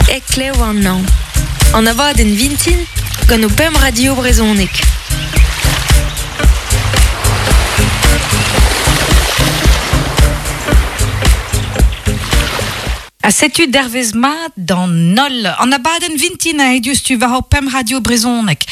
Heklev an hañv. An abadenn vintin gant ho pemp radio brezhonek. Ha setu dervezh mat d'an holl. An abadenn vintin a diouzhtu war hor pemp radio brezhonek.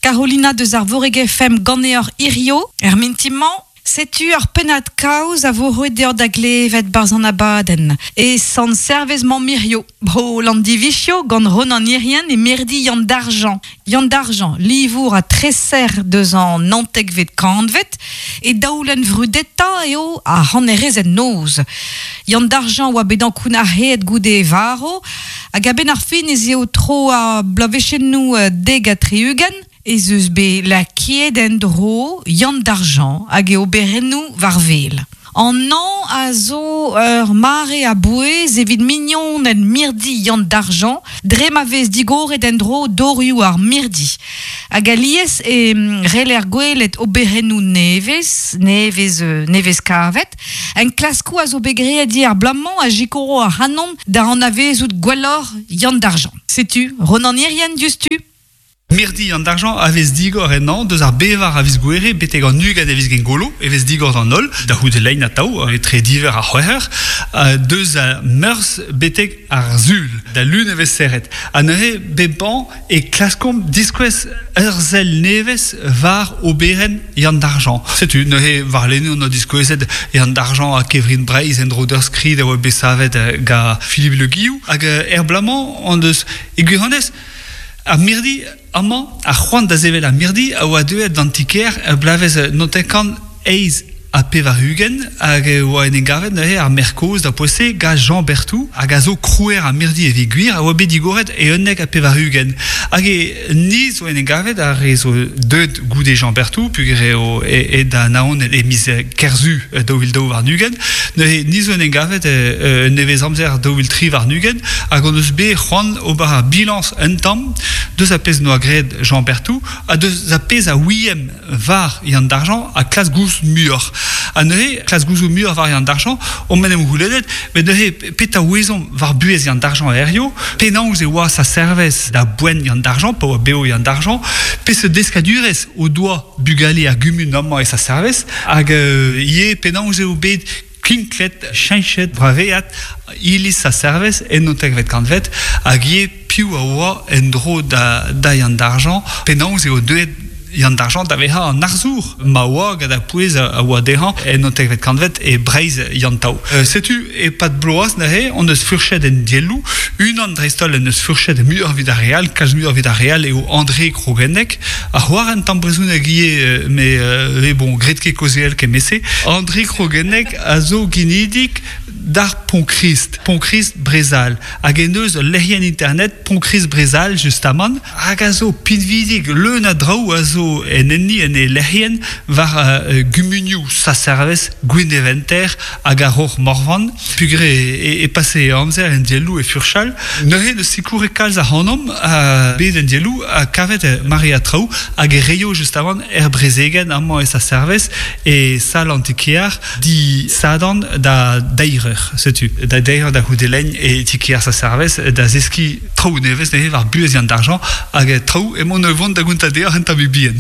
Carolina deus ar Voreg FM ganeoc'h hirio, er mintin-mañ. Setu ur pennad-kaoz a vo roet deoc'h da glevet 'barzh an abadenn. E Sant-Servez 'mañ Mirio, bro Landivizio, gant Ronan Hirrien e mirdi Yann Dargent. Yann Dargent, livour ha treser deus an naontekvet kantved, e daolenn vrudetañ eo ar c'hannerezed noz. Yann Dargent oa bet ankounac'haet goude e varv, hag a-benn ar fin ez eo tro ar bloavezhennoù 70 ez eus bet lakaet en-dro Yann Dargent hag e oberennoù war wel. An hañv a zo ur mare a-bouez evit mignoned mirdi Yann Dargent dre ma vez digoret en-dro dorioù ar mirdi. Hag alies e c'heller gwelet oberennoù nevez, nevez, nevez kavet. Enklaskoù a zo bet graet ivez ar bloaz-mañ a sikouro ac'hanomp da anavezout gwelloc'h Yann Dargent. Setu Ronan Hirrien diouzhtu. Mirdi an Dargent a vez digor ennañ deus ar bevar a viz Gouere betek an 20 a viz Gengolo e vez digor d'an holl, da c'houde lein atav, etre diver ha c'hwec'h eur, deus a Meurzh betek ar Sul. Da Lun e vez serret. Ha neuze, bep an e klaskomp diskouez ur sell nevez war oberenn Yann Dargent. Setu neuze warlene on doa diskouezet Yann Dargent ha Kevrin Breizh en-dro d'ur skrid a oa bet savet gant Philippe Le Guillou. Hag er bloaz-mañ hon deus e gwirionez Ar mirdi amañ, ar c'hoant da sevel ar mirdi a oa deuet d'an ti-kêr er bloavezh 1988 hag e oa en em gavet neuze ar maer kozh da poent-se gant Jean Berthou hag a zo krouer ar mirdi evit gwir a oa bet digoret e 91. Hag e ni zo en em gavet ar re zo deuet goude Jean Berthou peogwir eo aet da Anaon e miz Kerzu 2022 neuze ni zo en em gavet un nevez-amzer 2023 hag hon eus bet c'hoant ober ar bilañs un tamm deus ar pezh 'noa graet Jean Berthou ha deus ar pezh a ouiemp war Yann Dargent ha klask gouzout muioc'h. Ha neuze, klask gouzout muioc'h war Yann Dargent, omp en em c'houlennet, met neuze petra ouezomp war buhez Yann Dargent hiziv, penaos e oa sa servez da boent Yann Dargent, pa oa bev Yann Dargent, peseurt deskadurezh o doa bugale ar gumun amañ e sa servez, hag ivez penaos eo bet kinklet, cheñchet, braveat iliz sa servez en naontekvet kantved, hag ivez piv a oa en-dro da, da Yann Dargent, penaos eo deuet Yann Dargent da vezañ an arzour ma oa gant ar pouez a oa dezhañ en naontekvet kantved e Breizh Yann-Tao. Setu e-pad bloaz neuze hon eus furchet en dielloù. Unan dreist-holl en deus furchet muioc'h evit ar re all, kalz muioc'h evit ar re all eo André Krogenneg. A c'hoar un tamm brezhoneg ivez, met bon, graet ket kaozeal kement-se. André Krogenneg a zo ginidik d'ar Pont-Krist, Pont-Krist Brezal, hag en deus ul lec'hienn internet Pont-Krist Brezal justamant, hag a zo pinvidik, leun a draoù a zo en enni en e lec'hienn war gumunioù Saservez, Gwineventer hag ar Roc'h Morvan. Peogwir e pase e amzer en dielloù e furchal. Neuze neus sikouret kalz ac'hanomp bet en dielloù ha kavet maread traoù hag e reio justamant er brezegenn amañ e Saservez e sal an ti-kear disadorn da deir eur. Setu, da deir eur da c'houde lein e ti-kear Saservez da zeskiñ traoù nevez neuze war buhez Yann Dargent hag traoù emaon o vont da gontañ deoc'h un tammig bihan.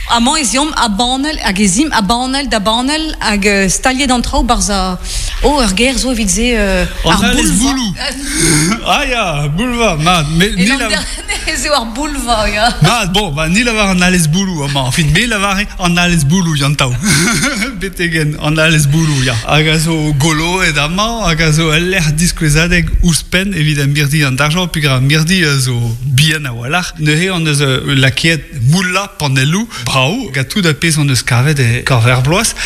Amañ ez eomp a banell hag ez imp a banell da banell hag staliet an traoù 'barzh ar... Oh, ur ger zo evit se... An ar alez bouloù. Ah ya, boulva, mat. Me, ni ez eo ar boulva, ya. Mat, bon, ba, ni lavar an alez bouloù amañ. Enfin, me lavare an alez bouloù, Yann-Tao. Betegen an alez bouloù, ya. Hag a zo goloet amañ, hag a zo ul lec'h diskouezadeg ouzhpenn evit ar mirdi an Dargent, peogwir ar mirdi a zo bihan a-walc'h. Neuze hon eus lakaet moullañ panelloù brav gant tout ar pezh hon eus kavet e korf er bloaz.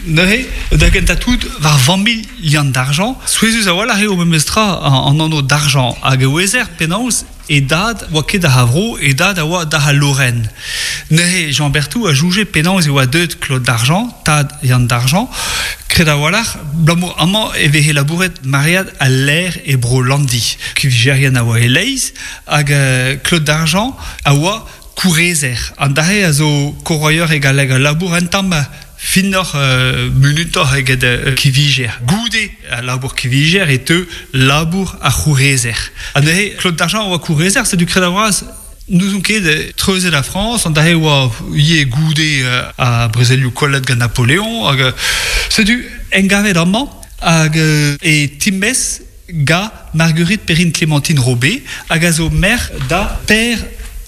Neuze, da gentañ tout, war familh Yann Dargent, souezhus a-walc'h eo memestra an anv Dargent hag e ouezer penaos e dad oa ket d'ar vro, e dad a oa d'ar Lorraine. Neuze Jean Berthou a soñje penaos e oa deuet Claude Dargent, tad Yann Dargent, kred a-walc'h, abalamour amañ e veze labouret maread al laer e bro Landi. Kuvijerien a oa e-leizh hag Claude Dargent a oa kourezer. An dra-se a zo koroier e galleg, a labour un tamm Finnoc'h, munutoc'h eget kivijer. Goude al labour kivijer e teu labour ar c'hourezer. Ha neuze, Claude Dargent a oa kourezer, setu kred a-vras n'ouzon ket treuzet ar Frañs, an dra-se oa ivez goude ar brezelioù kollet gant Napoleon. Hag setu engavet amañ hag e timez ga Marguerite Perrine Clémentine Robé hag a zo merc'h da Pêr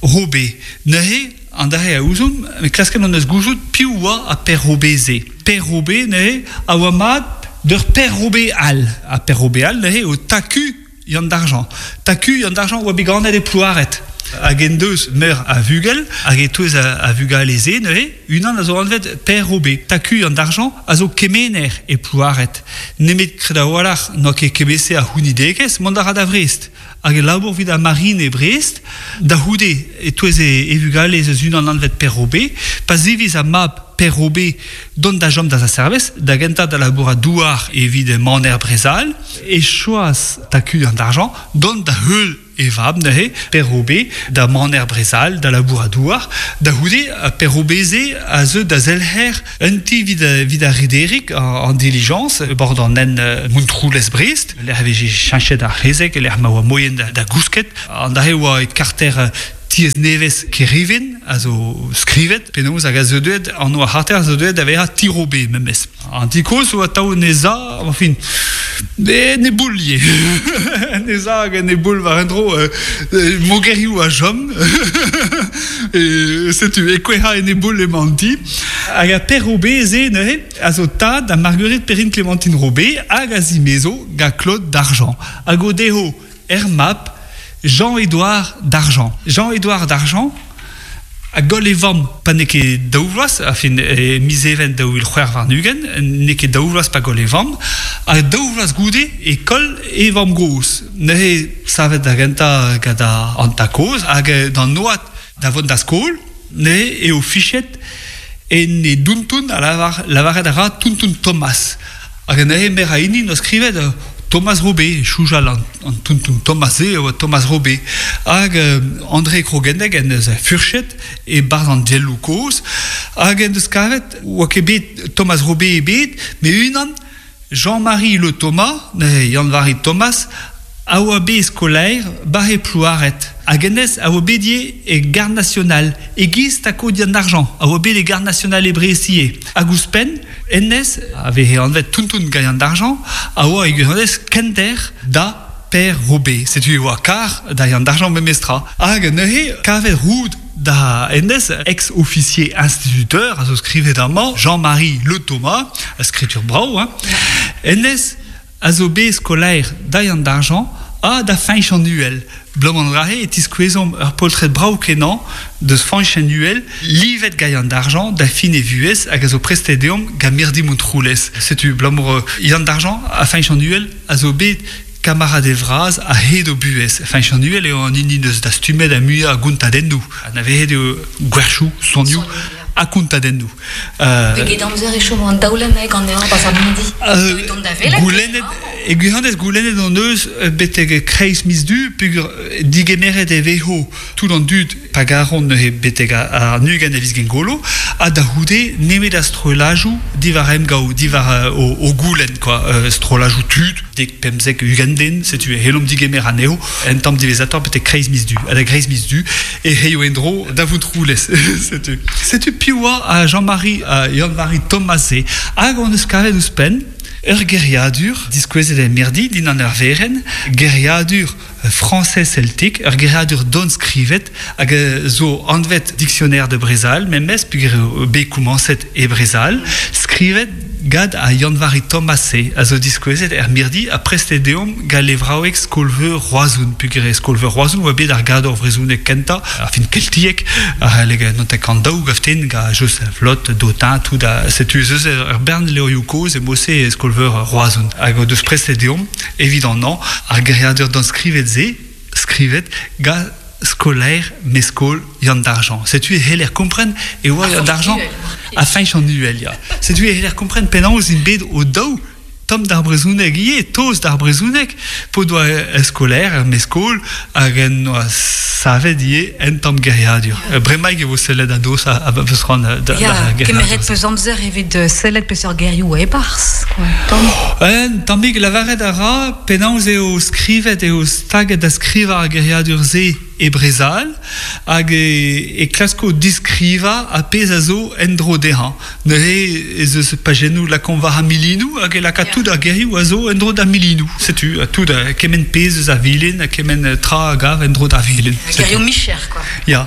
Robé. Neuze An dra-se a ouzomp, met klasket hon eus gouzout piv oa ar Pêr Robé-se. Pêr Robé neuze a oa mat d'ur Pêr Robé all. Ha Pêr Robé all neuze eo Taku Yann Dargent. Taku Yann Dargent oa bet ganet e Plouared. Hag en deus meur a vugel, hag e-touez a vugale-se neuze, unan a zo anvet Pêr Robé. Taku Yann Dargent a zo kemener e Plouared. Nemet kred a-walc'h n'oa ket kement-se a c'hounidegezh, mont a ra da Vrest. Hag e labour evit ar Marine e Brest. Da c'houde, e-touez e vugale ez eus unan anvet Pêr Robé. Pa ziviz ar mab Pêr Robé dont da chom da Saint-Servez, da gentañ da labourat douar evit maner Brezal, e choaz Taku an Argent dont da heul e vab neuze, Pêr Robé, da maner Brezal, da labourat douar. Da c'houde, Pêr Robé-se a zeu da zelc'her Un ti evit ar rederig, an dilijañs, e bord an hent Montroulez-Brest, lec'h e veze cheñchet ar c'hezeg, lec'h ma oa moien da gousket. An dra-se oa e karter tiez nevez Kerivin, a zo skrivet penaos hag a zo deuet, anv ar c'harter a zo deuet da vezañ Tirobe memes. An ti kozh oa atav en he za, enfin, en e boull ivez. En he za hag en e boull war un dro, mogerioù a chom. Setu, e kouezhañ en e boull emañ an ti. Hag ar Pêr Robé-se neuze a zo tad da Marguerite Perrine Clémentine Robé hag a zimezo gant Claude Dargent. Hag o dezho er mab Jean-Édouard Dargent. Jean-Édouard Dargent a goll e vamm pa n'eo ket daou vloaz, enfin e miz Even 2026, n'eo ket daou vloaz pa goll e vamm, ha daou vloaz goude e koll e vamm-gozh. Neuze savet da gentañ gant an tad-kozh hag d'an oad da vont da skol, neuze eo fichet en e dountoun a lavar lavaret a ra Tonton Thomas. Hag neuze meur a hini 'noa skrivet Thomas Robé, soujal an, an Tonton Thomas-se e oa Thomas Robé. Hag André Krogenneg en deus furchet e-barzh an dielloù kozh hag en deus kavet oa ket bet Thomas Robé ebet, met unan Jean-Marie Le Thomas, neuze Yann-Vari Thomas, a oa bet skolaer 'ba e Plouared. Hag hennezh a oa bet ivez e Garde nationale, e-giz Takodi an Argent, a oa bet e Garde nationale e Brest ivez. Hag ouzhpenn, hennezh, a veze anvet Tonton Gaillan d'Argent, a oa e gwirionez kenter da Pêr Robé. Setu e oa kar da Yann d'Argent memestra. Hag neuze, kavet roud da hennezh, ex-officier instituteur, a zo skrivet amañ, Jean-Marie Le Thomas, skritur brav, hein. Hennezh a zo bet skolaer da Yann d'Argent ha da Fañch an Uhel. Bloaz an e tiskouezomp ur poltred brav-kenañ deus Fañch an Uhel, livet gant Yann d'Argent da fin e vuhez hag a zo prestet deomp gant Mirdi Montroulez. Setu abalamour Yann d'Argent ha Fañch an Uhel a zo bet Kamaradez vras a-hed o buhez. Fañch an Uhel eo an hini 'neus dastumet ar muiañ a gontadennoù. Anavezet eo gwerchoù, sonioù ha kontadennoù. Pegeit amzer e chom an daolenn ganeoc'h 'barzh ar midi? Deuit da welet. Goulennet, e gwirionez goulennet hon eus betek kreiz miz Du peogwir digemeret e vezo tout an dud pa garont neuze betek an 20 a viz Gengolo ha da c'houde nemet ar strollajoù diwar emgav, diwar o goulenn quoi, strollajoù tud, dek, 15, 20 den, setu e c'hellomp digemer anezho un tamm diwezhatoc'h betek kreiz miz Du. Ha da greiz miz Du e c'heio en-dro da Vontroulez. Setu. Setu piv oa Jean-Marie Yann-Vari Thomas-se hag hon eus kavet ouzhpenn ur geriadur diskouezet er mirdi dindan ur werenn, geriadur Français celtique, ur geriadur don skrivet hag zo anvet Dictionnaire de Brezal memes peogwir eo bet komañset e Brezal, skrivet gant ar Yann-Vari Thomas-se a zo diskouezet er mirdi ha prestet deomp gant levraoueg Skol-Veur Roazhon peogwir e Skol-Veur Roazhon oa bet ar gador vrezhonek kentañ, ar fin keltiek, a c'halle notek an daou gaften gant Joseph Lot, Dotin, tout ha setu ez eus ur bern levrioù kozh e mod-se e Skol-Veur Roazhon hag o deus prestet deomp Evit an hañv, ar geriadur danskrivet-se, skrivet gant skolaer meskol Yann Dargent. Setu e c'heller kompren e oa Yann Dargent ha Fañch an Uhel, ya. Setu e c'heller kompren penaos int bet o-daou tomm d'ar brezhoneg ivez, tost d'ar brezhoneg, p'o doa skolaer er meskol hag en doa savet ivez un tamm geriadur. Bremaik e vo sellet a-doz a peus c'hoant da Ya, geriadur. kemeret peus amzer evit sellet peseurt gerioù e-barzh, quoi. Tamm. Un tammig lavaret a ra penaos eo skrivet eo staget da skrivañ ar geriadur-se e Brezal hag e klasko diskrivañ ar pezh a zo en-dro dezhañ. Neuze ez eus pajennoù lakaomp war ar milinoù hag e laka tout ar gerioù a zo en-dro d'ar milinoù. Setu tout kement pezh eus ar vilin ha kement tra a gav en-dro d'ar vilin. Gerioù micher, quoi. Ya.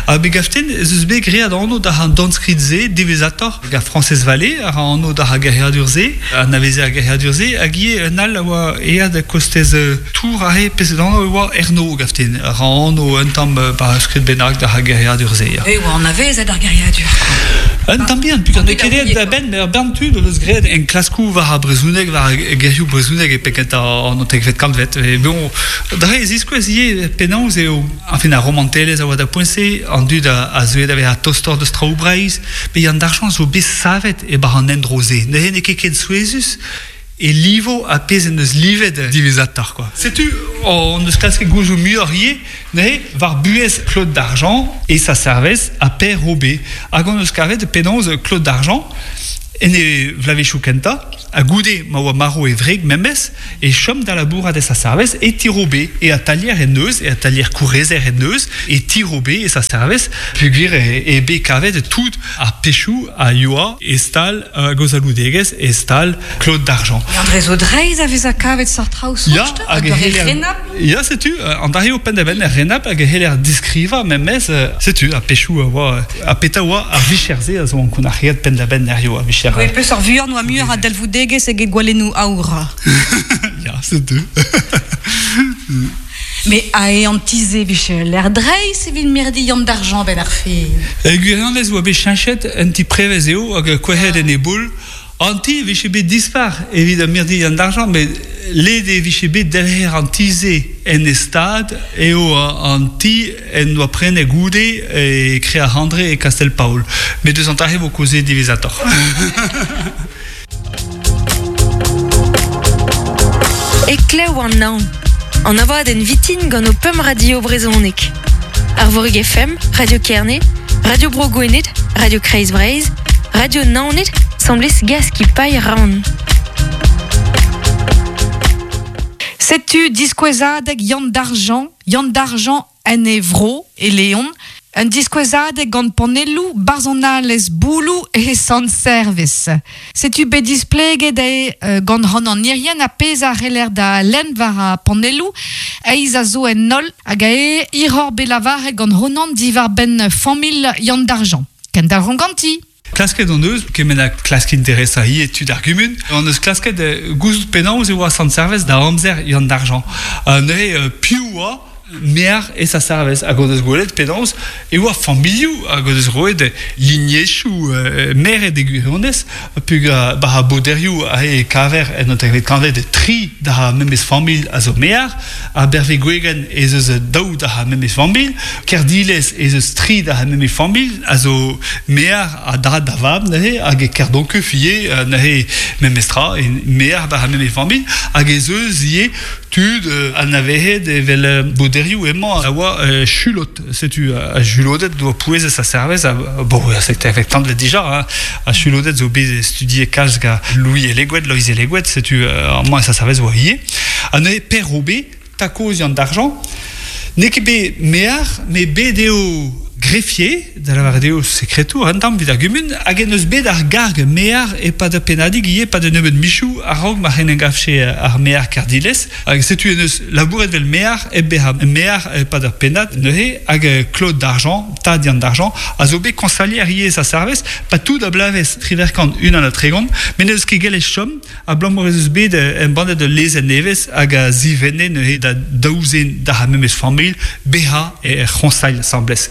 Ha me gav din ez eus bet graet anv da an dornskrid-se diwezhatoc'h gant Frañsez Vallée a ra anv d'ar geriadur-se, anaveze ar geriadur-se, hag ivez un all a oa aet kostez Tour aze, peseurt anv e oa Erno gav din, a ra anv un tamm ba ur skrid bennak d'ar geriadur-se. E oa anavezet ar geriadur, quoi. Un tamm bihan, puisqu'on n'eo ket aet da benn, met ur bern tud o deus graet enklaskoù war ar brezhoneg, war ar gerioù brezhoneg e penn-kentañ an naontekvet kantved. E bon, dre e ziskouez ivez penaos eo, enfin, ar romantelezh a oa da poent-se, an dud a zeue da vezañ tostoc'h deus traoù Breizh, met an argent zo bet savet e-barzh an endro-se. Neuze n'eo ket ken souezhus e livo ar pezh en deus livet diwezhatoc'h quoi. Setu hon eus klasket gouzout muioc'h ivez neuze war buhez Claude Dargent e sa servez ha Pêr Robé. Hag hon eus kavet penaos Claude Dargent en e vloavezhioù kentañ ha goude ma oa marv e wreg memes e chom da labourat e sa servez e ti Robé e atalier en deus e atalier kourezer en deus e ti Robé e sa servez peogwir eo bet kavet tout ar pechoù a yoa e stal hag o zaloudegezh e stal Claude Dargent. André zo dreist a vezañ kavet seurt traoù soñj hag e c'heller Ya, setu, an dra eo penn-da-benn er renabl hag e c'heller diskrivañ memes, setu, ar pechoù a oa, ha petra oa ar vicher-se a zo ankounac'heet penn-da-benn hiziv, ar vicher... Oui, peseurt vuan oa muioc'h a dalvoudegezh eget gwalennoù aour. Ya, setu. Mais ae an ti-se vije ul lec'h dreist evit mirdi Yann d'Argent 'benn ar fin. E gwirionez oa bet cheñchet un ti prevez eo hag kouezhet en e boull. An ti e vije bet dispar evit ar mirdi Yann d'Argent met led e vije bet delc'her an ti-se en e stad eo an ti en doa prenet goude e Kreac'h-Andre e Kastell-Paol. Met eus an dra-se vo kaozeet diwezhatoc'h. Heklev an hañv. An abadenn vitin gant ho pemp radio brezhonek. Arvorig FM, Radio Kerne, Radio Bro Gwened, Radio Kreiz Breizh, Radio Naoned, 'semblez Gaskipailh Rann. Setu diskouezadeg Yann Dargent, Yann Dargent en e vro, e Leon, un diskouezadeg gant panelloù barzhonalezh bouloù e Sant-Servez. Setu bet displeget eo gant Ronan Irien ar pezh a c'heller da lenn war ar panelloù eizh a zo en holl hag eo hiroc'h bet lavaret gant Ronan diwar-benn familh Yann Dargent. Kendalc'homp ganti! Klasket hon eus, kement ha klask interesañ ivez tud ar gumun, hon eus klasket gouzout penaos e oa Sant-Servez da amzer Yann Dargent. Neuze, piv oa Mear e sa servez hag o deus gwelet penaos e oa familhoù hag o deus roet lignezhioù meret e gwirionez peogwir ba ar boderioù aze e kaver en naontekvet kantved tri d'ar memes familh a zo mear, ar Bervegwegen ez eus daou d'ar memes familh, Kerdilez ez eus tri d'ar memes familh a zo mear a dad da vab neuze hag e Kerdonkeuf ivez neuze memestra mear d'ar memes familh hag ez eus ivez Tud anavezet evel boderioù emañ a oa chulot. Setu ar chulodet doa pouezet sa servez. Bon, c'était avec tant dija. Hein. Ar chulodet zo bet studiet kalz gant Louis Eleguet, Loïs Eleguet, setu amañ sa servez oa ivez. Ha neuze Per Robé, takozian d'argent, n'eo ket bet mear, met bet eo greffier, da lavaret eo sekretour un tamm evit ar gumun, hag en deus bet ar garg mear e-pad ur pennadig ivez, e-pad un nebeud michoù a-raok ma c'hen gavche ar mear Kerdilez. Hag setu en deus labouret vel mear hep bezañ mear e-pad ur pennad neuze, hag Claude Dargent, tad Yann Dargent, a zo bet koñsalier ivez a serviz, pa tout a bloavezh 38, met n'eus ket gellet chom Abalamour ez eus bet embannet ul lezenn nevez hag a zivenne neuze da daou zen d'ar memes familh bezañ er c'hoñsailh asambles.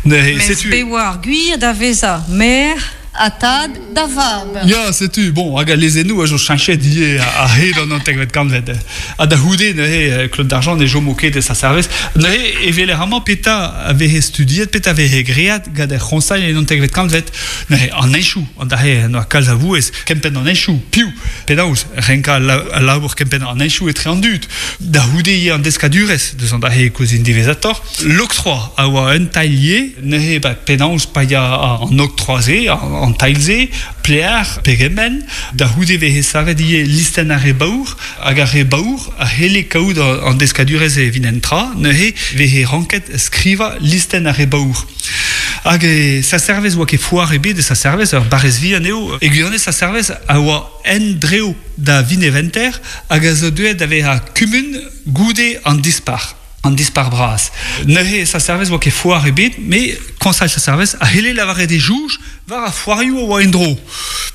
Neuze setu. Mes bet oa ar gwir da vezañ maer. ha tad da vab. Ya, setu, bon, hag al lezennoù a zo cheñchet ivez a-hed an naontekvet kantved. Ha da c'houde neuze Claude Dargent ne chomo ket e sa service. Neuze e weler amañ petra a veze studiet, petra a veze graet gant ar c'hoñsailh en naontekvet kantved. Neuze an henchoù, an dra-se en doa kalz a vouezh, kempenn an henchoù, piv, penaos renkañ al labour kempenn an henchoù etre an dud. Da c'houde ivez an deskadurezh, deus an dra-se e kaozin diwezhatoc'h. L'octroi a oa un tailh ivez, neuze ba penaos paeañ an octroi-se, an tailh-se, plear, pegement. Da c'houde e veze savet ivez listenn ar re baour, hag ar re baour a c'helle kaout an deskadurezh evit un tra, neuze e veze ranket skrivañ listenn ar re baour. Hag sa servez oa ket foar ebet e sa servez, ur barrez vihan eo. E gwirionez sa servez a oa en-drev da Vineventer hag a zo deuet da vezañ kumun goude an Dispac'h. An Dispac'h bras. Neuze sa servez oa ket foar ebet, met koñsail sa servez a c'helle lavaret e jouj war ar foarioù a oa en-dro.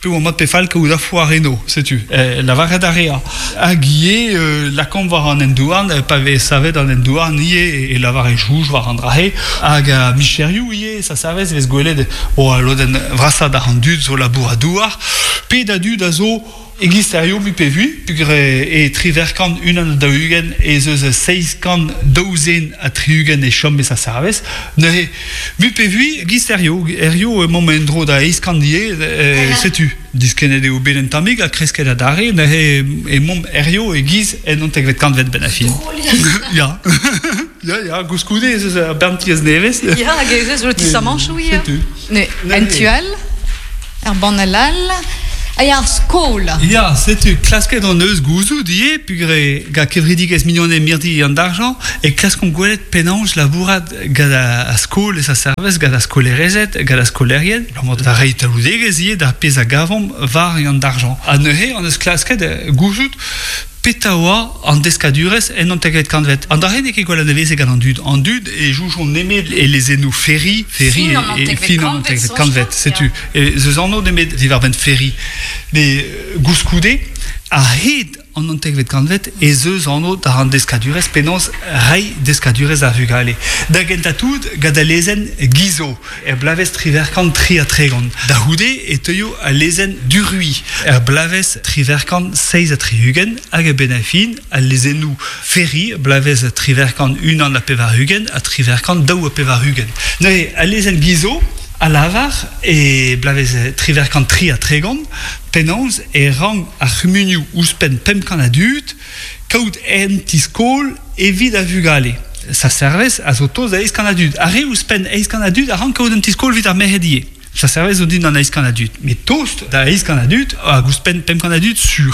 Pe oa mat pe fall kaout ar foar eno, setu. Lavaret a rea. Hag ivez lakaomp war an hent-houarn, pa vez savet an hent-houarn ivez e lavar e jouj war an dra-se. Hag ar micherioù ivez, sa servez e vez gwelet o al lodenn vrasañ d'ar an dud zo labourat-douar, pe da dud a zo E-giz sterioù mui pe vui, peogwir e 48 41 ez eus 772 e chom e Saint-Servez. Neuze, mui pe vui, e-giz sterioù, hiziv emaomp en-dro da 800 ivez, setu, diskennet eo bet un tammig ha kresket adarre, neuze emaomp hiziv e-giz en naontekvet kantved benn ar fin. Ya, ya, ya, koulskoude ez eus ur bern tiez nevez. Ya, hag ez eus lotisamanchoù ivez. Setu. Ne, en tu all, er banell all, ha ya, ar skol. Ya, setu, klasket hon eus gouzout ivez, peogwir gant kevredigezh Mignoned Mirdi an Dargent e klaskomp gwelet penaos labourat gant ar skol e sa servez, gant ar skolerezed, gant ar skolaerien, abalamour da reiñ talvoudegezh ivez d'ar pezh a gavomp war an Dargent. Ha neuze hon eus klasket gouzout Petra oa an deskadurezh en naontekvet kantved? An dra-se n'eo ket gwall anavezet gant an dud. An dud e soñjont nemet e lezennoù Ferry, Ferry e fin an naontekvet kantved. Setu, ez eus anv nemet diwar-benn Ferry. Met koulskoude, a-hed an naontekvet kantved ez eus anv da an deskadurezh penaos reiñ deskadurezh d'ar vugale. Da gentañ-tout, gant al lezenn Guizot. Er bloavezh 38 33, da c'houde e teuio al lezenn Duruy. Er bloavezh 847 hag a-benn ar fin al lezennoù Ferry, bloavezh 881 ha 882. Neuze al lezenn Guizot a lavar e bloavezh 833 penaos e rank ar c'humunioù ouzhpenn 500 a dud kaout un ti-skol evit ar vugale. Sa servez a zo tost da eizh kant a dud. Ar re ouzhpenn eizh kant a dud a rank kaout un ti-skol evit ar merc'hed ivez. Sa servez zo dindan eizh kant a dud, met tost da eizh kant a dud hag ouzhpenn 500 a dud sur.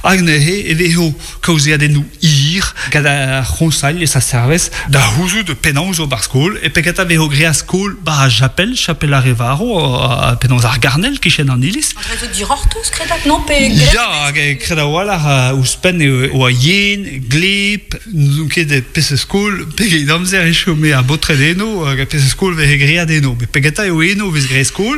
Hag neuze e vezo kaozeadennoù hir gant ar c'hoñsailh e sa servez da c'houzout penaos ober skol e pegata vezo graet skol 'ba ar chapel, chapel ar re varv, penaos ar garnel kichen an iliz. An dra zo dirortoz, kredat, non? Pe Ya, hag kred a-walc'h ouzhpenn e oa yen, gleb, N'ouzon ket peseurt skol, pegeit amzer e chome ar baotred eno hag peseurt skol veze graet eno. Met pegeta eo eno vez graet skol.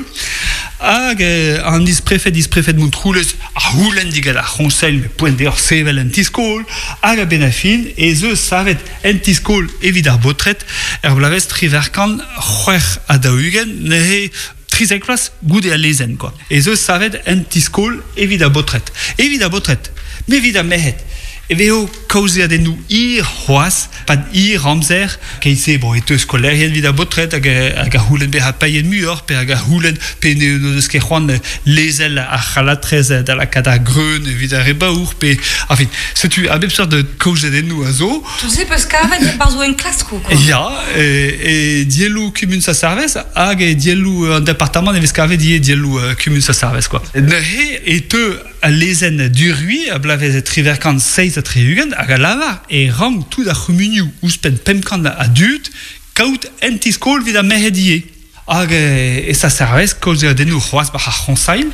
Hag an isprefed, isprefed Montroulez a c'houlenn digant ar c'hoñseil met poent deoc'h sevel un ti-skol. Hag a-benn ar fin ez eus savet un ti-skol evit ar baotred er bloavezh 1846 neuze 13 vloaz goude al lezenn kwa. Ez eus savet un ti-skol evit ar baotred. Evit ar baotred, met evit ar merc'hed e vezo kaozeadennoù hir c'hoazh, pad hir amzer. Keit-se bon, e teu skolaerien evit ar baotred hag, hag a c'houlenn bezañ paeet muioc'h pe hag a c'houlenn pe n'o deus ket c'hoant lezel ar c'halatrez da lakaat ar greun evit ar re baour pe enfin setu a bep seurt kaozeadennoù a zo. Tout se peus kavet e-barzh o enklaskoù quoi. Ya, e dielloù kumun Saint-Servez hag e dielloù an departamant e vez kavet ivez dielloù kumun Saint-Servez quoi. Neuze e teu al lezenn Duruy a bloavezh 1867 hag a lavar e rank tout ar c'humunioù ouzhpenn 500 a dud kaout un ti-skol evit ar merc'hed ivez. Hag e Saint-Servez kaozeadennoù c'hoazh war ar c'hoñsailh.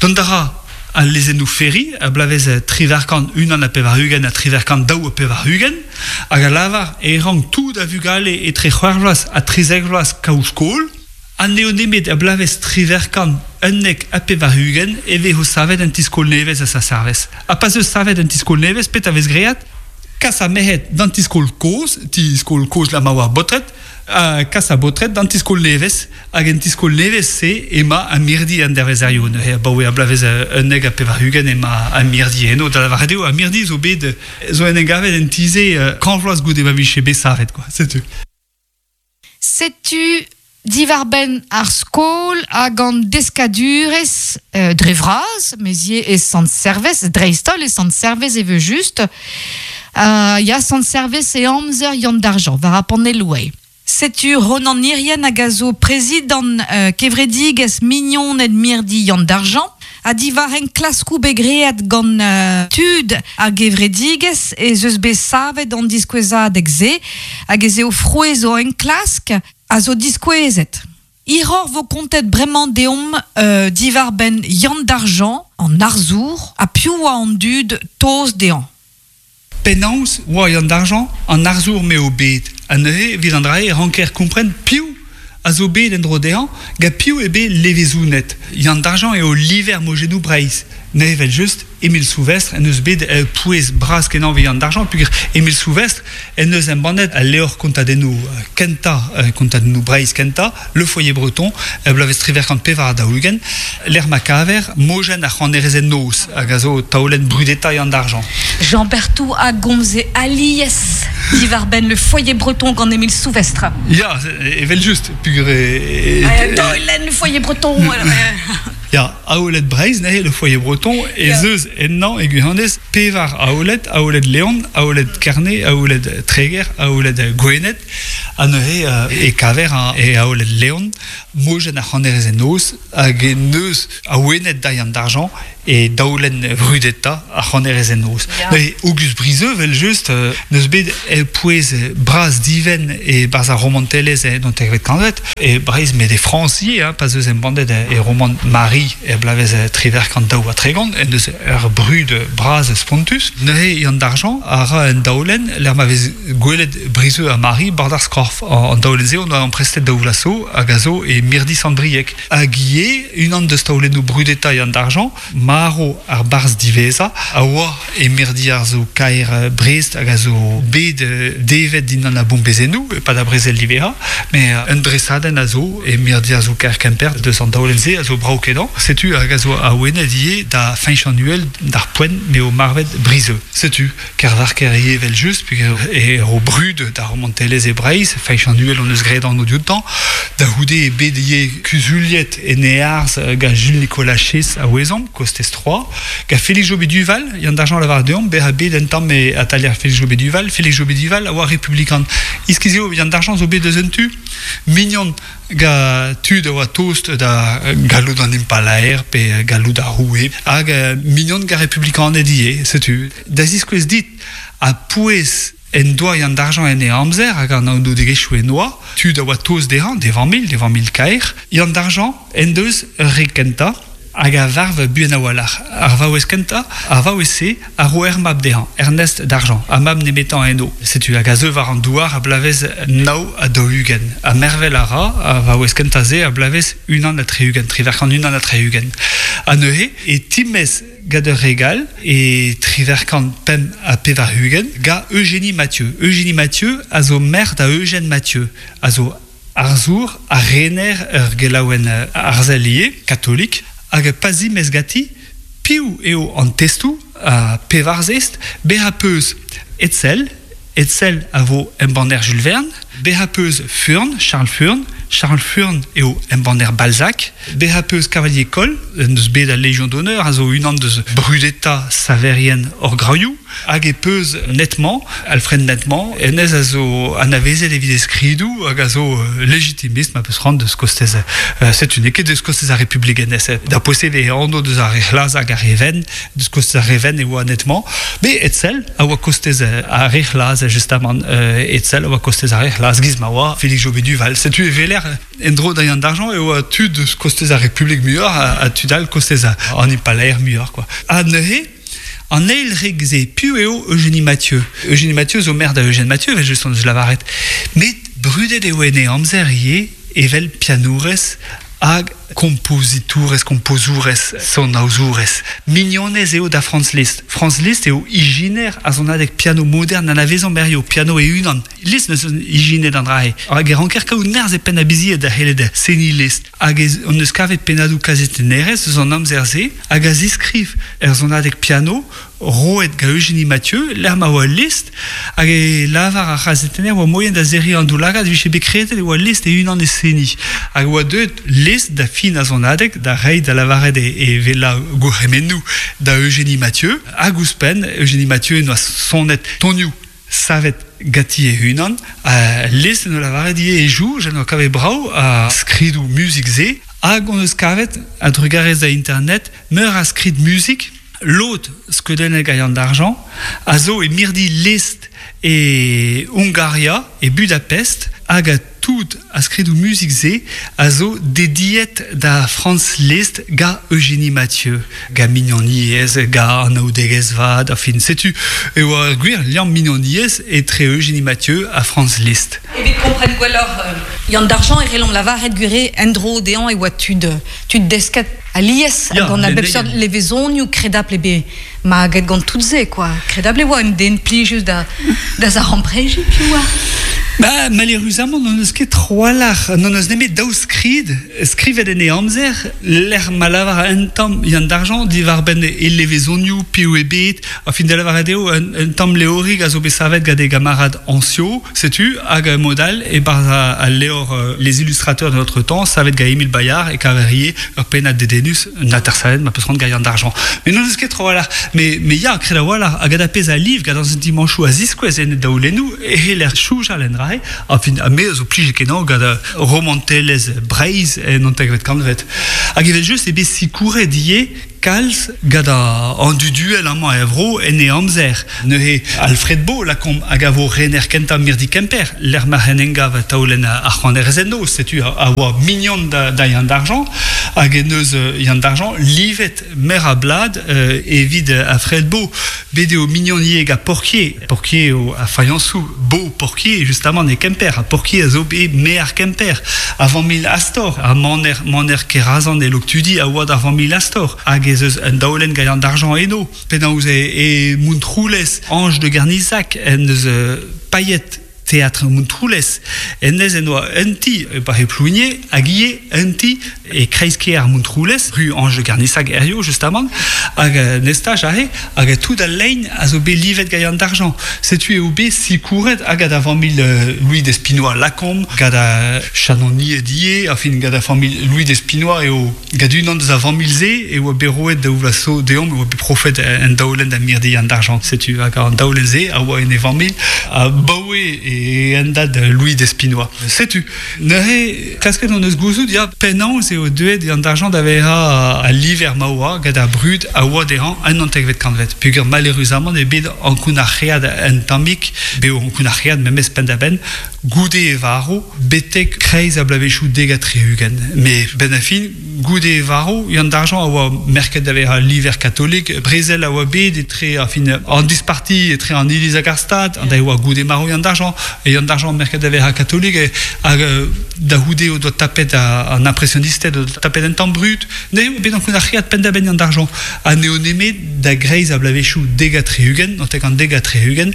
Dont a ra al lezennoù Ferry a bloavezh 1881 ha 1882 hag a lavar e rank tout a vugale etre c'hwec'h vloaz ha 13 vloaz kaout skol. Ha n'eo nemet er bloavezh 1891 e vezo savet un ti-skol nevez a Saint-Servez. Ha pa 'z eus savet un ti-skol nevez, petra 'vez graet? Kas ar merc'hed d'an ti-skol kozh, ti-skol kozh la ma oa ar baotred. Ha kas a baotred d'an ti-skol nevez, hag en ti-skol nevez-se ema ar mirdi an dervezerioù. Neuze abaoe ar bloavezh 91 ema ar mirdi eno. Da lavaret eo, ar mirdi zo bet zo en em gavet en ti-se kant vloaz goude ma vije bet savet, quoi. Setu. Setu diwar-benn ar skol hag an deskadurezh dre vras, mes ivez e Sant-Servez, dreist-holl e Sant-Servez evel-just. Ya, Sant-Servez e amzer Yann Dargent, war ar panelloù eo. Setu Ronan Hirrien hag a zo prezidant kevredigezh Mignoned Mirdi Yann Dargent, ha diwar enklaskoù bet graet gant tud ar gevredigezh ez eus bet savet an diskouezadeg-se hag ez eo frouezh o enklask a zo diskouezet. Hiroc'h 'vo kontet bremañ deomp diwar-benn Yann Dargent, an arzour, ha piv 'oa an dud tost dezhañ. Penaos 'oa Yann Dargent an arzour m'eo bet? Ha neuze, evit an dra-se e ranker kompren piv a zo bet en-dro dezhañ, gant piv eo bet levezonet. Yann Dargent eo liver mojennoù Breizh. Neuze evel-just, Émile Souvestre en deus bet ur pouez bras-kenañ evit Yann Dargent peogwir Émile Souvestre en deus embannet al levr kontadennoù kentañ, kontadennoù Breizh kentañ, Le Foyer Breton, er bloavezh 1844, lec'h ma kaver mojenn ar c'hanerezed noz hag a zo taolenn brudetañ Yann Dargent. Jean Berthou a gomze alies diwar-benn Le Foyer Breton gant Émile Souvestre. Ya, evel-just, peogwir... Taolenn Le Foyer Breton. Ya, aoled Breizh neuze, Le Foyer Breton, ez eus ennañ e gwirionez pevar aoled, aoled Leon, aoled Kerne, aoled Treger, aoled Gwened, ha neuze e kaver e aoled Leon mojenn ar c'hanerez en noz hag en deus awenet Daian d'Argent e daolenn vrudetañ ar c'hanerez en noz. Neuze Auguste Brizeux, evel-just, n'eus bet pouez bras divent e-barzh ar romantelezh en naontekvet kantved. E Breizh met e Frañs ivez, hein, pa 'z eus embannet e romant Marie er bloavezh 1832, en deus ur brud bras spontus. Neuze Yann Dargent a ra un daolenn lec'h ma vez gwelet Brizeux ha Marie bord ar skorf. An daolenn-se on doa amprestet daou vloaz zo hag a zo e mirdi Sant-Brieg. Hag ivez unan deus taolennoù brudetañ Yann Dargent, Marv ar barzh diwezhañ a oa e mirdi arzoù-kaer Brest hag a zo bet devet dindan ar bombezennoù e-pad ar brezel diwezhañ. Met un dresadenn a zo e mirdi arzoù-kaer Kemper deus an daolenn-se a zo brav-kenañ. Setu hag a zo awenet ivez da Feñch an Uhel d'ar poent m'eo marvet Brizeux. Setu Kervarker ivez evel-just peogwir e ro brud d'ar romantelezh e Breizh. Feñch an Uhel hon eus graet anv dioutañ. Da c'houde eo bet ivez kuzuliet en e arz gant Jules Nicolas Chess a ouezomp, kostez Troyes. Gant Félix Jobé Duval, Yann Dargent a lavar deomp bezañ bet un tamm e atalier Félix Jobé Duval. Félix Jobé Duval a oa republikan. Iskis eo Yann Dargent zo bet eus un tu mignon gant tud a oa tost da galloud an impalaer pe galloud ar roue hag mignon gant republikaned ivez, setu. Da ziskouez dit ha pouez en doa Yann Dargent en e amzer hag an anaoudegezhioù en oa, tud a oa tost dezhañ, d'e familh, d'e familh kaer. Yann Dargent en deus ur re kentañ hag a varv buan a-walc'h. Ar vaouez kentañ, ar vaouez-se a ro ur mab dezhañ, Ernest Dargent, ar mab nemetañ eno. Setu hag a zeu war an douar a bloavezh 49. Ha mervel a ra ar vaouez kentañ-se a bloavezh 61, 1861. Ha neuze e timez gant ur regal e 1885 gant Eugénie Mathieu. Eugénie Mathieu a zo merc'h da Eugène Mathieu, a zo arzour ha rener ur gelaouenn arzel ivez, katolik, hag pa zimez ganti, piv eo an testoù ha pevar zest, bezañ 'peus Hetzel, Hetzel a vo embanner Jules Verne, bezañ 'peus Furn, Charles Furn, Charles Furn eo embanner Balzac, bezañ 'peus Cavalier Coll, en deus bet al Légion d'honneur, a zo unan deus brudetañ saverien hor graioù, hag e peus Nettement, Alfred Nettement, hennezh a zo anavezet evit e skridoù hag a zo lejitimist ma peus c'hoant deus kostez setu n'eo ket deus kostez ar Republik hennezh da posev e anv deus ar re c'hlas hag ar re wenn deus kostez ar re wenn e oa Nettement met Hetzel a oa kostez ar re c'hlas justamant Hetzel a oa kostez ar re c'hlas giz ma oa Félix Jobé Duval setu e weler en-dro da Yann Dargent e oa tud deus kostez ar Republik muioc'h ha tud all kostez an Impalaer muioc'h quoi ha neuze An eil reg-se, piv eo Eugénie Mathieu? Eugénie Mathieu zo merc'h da Eugène Mathieu, evel-just hon eus lavaret. Met brudet eo en e amzer ivez evel pianourez hag Kompozitorez, kompozourez, sonaozourez. Mignonez eo da Franz Liszt. Franz Liszt eo ijiner ar sonadeg piano modern anavezomp hiziv, piano e-unan. Liszt neus ijinet an dra-se. Hag e ranker kaout nerzh e penn a-bizied da c'hellet seniñ Liszt. Hag ez hon eus kavet pennadoù kazetennerezh eus an amzer-se hag a ziskriv er sonadeg piano roet gant Eugénie Mathieu, lec'h ma oa Liszt, hag e lavar ar c'hazetenner oa moien da serriñ an daoulagad e vije bet kredet e oa Liszt e-unan e seniñ. Hag e oa deuet Liszt da fin ar sonadeg da reiñ da lavaret e wellañ gourc'hemennoù da Eugénie Mathieu, hag ouzhpenn Eugénie Mathieu en doa sonet tonioù savet ganti e-unan. Ha Liszt en doa lavaret ivez e soñj en doa kavet brav ar skridoù muzik-se, hag hon eus kavet, a-drugarez da Internet, meur a skrid muzik. Lod skeudennek a Yann d'Argent a zo e mirdi Liszt e Hungaria, e Budapest, hag tout ar skridoù muzik-se a zo dediet da Franz Liszt ga Eugénie Mathieu, ga mignoniezh, ga anaoudegezh vat, enfin setu e oa ur gwir liamm mignoniezh etre Eugénie Mathieu ha Franz Liszt. Evit kompren gwelloc'h Yann d'Argent e c'hellomp lavaret gwir eo en-dro dezhañ e oa tud tud desket alies ha gant a bep seurt levezonioù kredapl eo bet maget gant tout se quoi. Kredapl e oa un den plijus da da zaremprejiñ piv oa. Ba, maleüruzamant n'hon eus ket tro-walc'h, n'hon eus nemet daou skrid skrivet en e amzer, lec'h ma lavar un tamm Yann d'Argent diwar-benn e levezonioù, piv eo bet, a fin da lavaret eo un, un tamm leorig a zo bet savet gant e gamarad Anciot, Setu hag mod all e-barzh al levr Les illustrateurs de notre temps savet gant Émile Bayard e kaver ivez ur pennad dedennus, un atersadenn ma peus c'hoant gant Yann d'Argent. Mais n'on eus ket tro-walc'h. Mais, mais ya, kred a-walc'h, hag gant ar pezh a liv, gant an sentimanchoù a ziskouez en daolennoù, e c'heller soñjal en dra-se. Enfin, ha me a zo plijet-kenañ gant romantelezh Breizh en hantervet kantved. Hag evel-just eo bet sikouret ivez Kalz gant an dud uhel amañ er vro en e amzer. Neuze Alfred Bo, lakaomp, hag a vo rener kentañ mirdi Kemper, lec'h ma c'hen engav taolenn ar c'hoanerez-noz, setu a oa mignon da Yann d'Argent, hag en deus Yann d'Argent livet meur a blad evit Alfred Bo. Bet eo mignon ivez gant Porquier. Porquier eo ar fayañsoù Bo Porquier, justamant, e Kemper. Ha Porquier a zo bet maer Kemper. Ar familh Astor, ar maner, maner Kerazan e Loktudi a oa d'ar familh Astor. Hag ez eus un daolenn gant d'argent eno. Penaos e, e Montroulez, Ange de Garnizac en deus paeet Teatr Montroulez. Hennezh en doa un ti e Paris Plouigné hag ivez un ti e kreiz-kêr Montroulez, rue Ange de Garnissac hiziv justamant, hag un estaj aze, hag tout al lein a zo bet livet gant Yann d'Argent. Setu eo bet sikouret hag gant ar familh Louis Despinois Lacombe, gant ar chanonied ivez, enfin gant ar familh Louis Despinois eo gant unan deus ar familh-se e oa bet roet daou vloaz zo deomp, e oa bet profet un daolenn da mirdi Yann d'Argent. Setu hag an daolenn-se a oa en e familh abaoe e hendad Louis Despinois. Setu neuze klasket hon eus gouzout ya penaos eo deuet Yann d'Argent da vezañ al liver ma oa gant ar brud a oa dezhañ en naontekvet kantved peogwir maleüruzamant eo bet ankounac'heat un tammig, bet ankounac'heat memes penn-da-benn goude e varv betek kreiz ar bloavezhioù 70. Met benn ar fin, goude e varv, Yann d'Argent a oa merket da vezañ liver katolik. Brezel a oa bet etre ar fin an disparti etre an Iliz hag ar Stad, an da e oa goude marv Yann d'Argent. Yann d'Argent merket da vezañ katolik hag da c'houde o doa tapet an impresionisted o doa tapet un tamm brud. N'eo bet ankounac'heat penn-da-benn Yann d'Argent ha n'eo nemet da greiz ar bloavezhioù 70, notek an 70,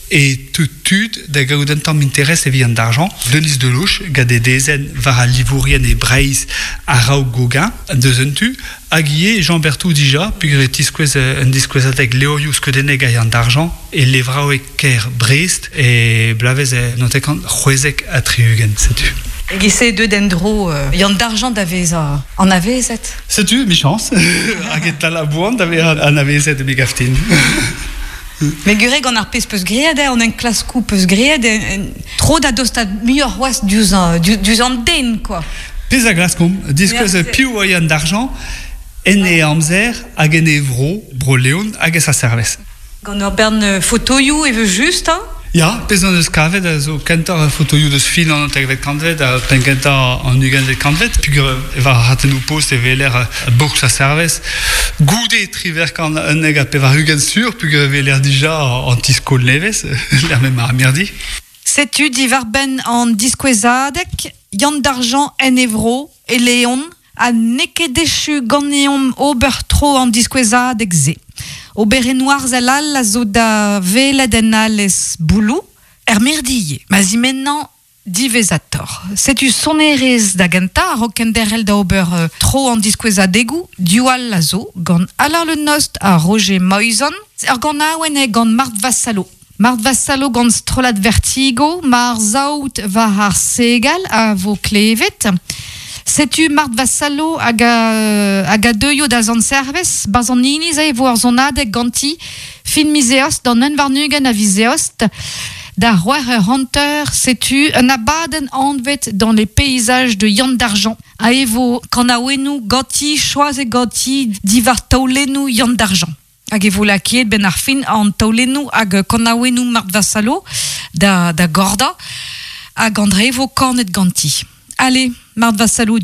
e teu tud da gaout un tamm interest evit an d'argent. Denis Deloche, gant e dezenn war al livourien e Breizh a-raok Gauguin, deus un tu, hag ivez Jean Berthou dija, peogwir e tiskouez un diskouezadeg levrioù skeudennek a Yann d'Argent e levraoueg kêr Brest e bloavezh 1976, setu. E-giz-se deuet en-dro Yann d'Argent da vezañ anavezet. Setu, emichañs, hag e tal a-boan da vezañ anavezet, me gav din. Met gwir eo gant ar pezh 'peus graet eo, an enklaskoù 'peus graet, tro da dostaat muioc'h c'hoazh diouzh an den quoi. Pezh a glaskomp, diskouez piv oa Yann d'Argent en e amzer hag en e vro, Bro-Leon hag e sa servez. Gant ur bern fotoioù evel-just, hein? Ya, pezh hon eus kavet a zo kentoc'h fotoioù deus fin an naontekvet kantved ha penn-kentañ an ugentvet kantved, peogwir war ar ratennoù-post e weler bourk sa servez. Goude 98 sur, peogwir e weler dija an ti-skol nevez, lec'h m'emañ ar mirdi. Setu diwar-benn an diskouezadeg Yann d'Argent en e vro, e Leon. Ha n'eo ket echu ganeomp ober tro an diskouezadeg se. Oberennoù arzel all a zo da welet en alez Bouloù, er mirdi ma zimennañ diwezhatoc'h. Setu sonerezh da gentañ a-raok kenderc'hel da ober tro an diskouezadegoù div all a zo gant Alain Le Nost ha Roger Moizan, ur ganaouenn eo gant Marthe Vassalo. Marthe Vassalo gant strollad Vertigo, Mar saout war ar segal a vo klevet. Setu Marthe Vassalo hag a, hag a deuio da Sant-Servez, 'barzh an iliz e vo ur sonadeg ganti fin miz Eost d'an 21 a viz Eost. Da 6h50, setu un abadenn anvet dans les paysages de Yann d'Argent. Ha e vo kanaouennoù ganti, choazet ganti diwar taolennoù Yann d'Argent. Hag e vo lakaet benn ar fin an taolennoù hag kanaouennoù Marthe Vassalo da, da gordañ hag an dre vo kanet ganti. Allez, Marthe Vassalo.